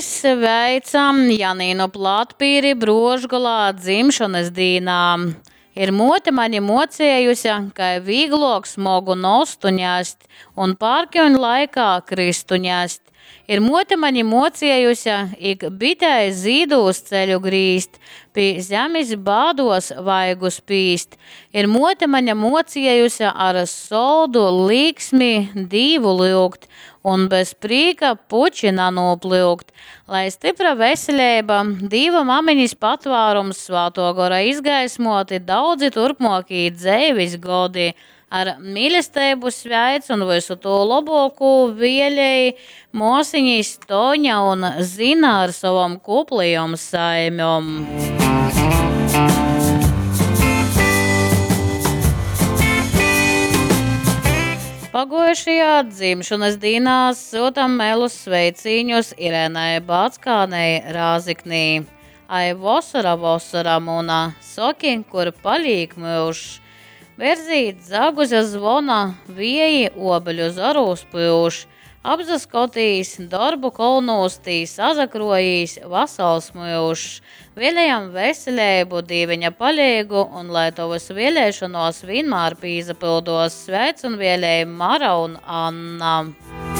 Sveicam Janīnu Platpīri Bruožgolā dzimšonys dīnā! Ir muote mani muocējuse, kai vīgluok smogu nostu ņest un pārkiuņ laikā krystu ņest. Ir muote mani muociejuse, ik bitei zīdūs ceļu grīzt, pi zemis bāduos vaigu spīst. Ir muote mani muociejuse ar soldu līksmi Dīvu lyugt un bez prīka puči nanūplyukt. Lai stypra veseleiba, Dīva mameņis patvārums, Svātuo Gora izgaismuoti daudzi turpmuokī dzeivis godi! Ar mīlesteibu sveic un vysu tū lobuokū vielej muosiņis Toņa un Zina ar sovom kuplajom saimem. Paguojušajā dzimšonys dīnā syutam melus sveicīņus Irenai Backānei Rāziknī. Ai, vosora, vosora muna, soki, kur palīk myužs? Berzī dzaguze zvona, vieji uobeļu zorūs pyuš. Apsaskotīs, dorbu kolnūs tī sasakruojīs vasals myužs. Vielejam veseleibu, Dīveņa paleigu un lai tovys vieleišonuos vīnmār pīsapylduos, sveic un vielej Mara un Anna.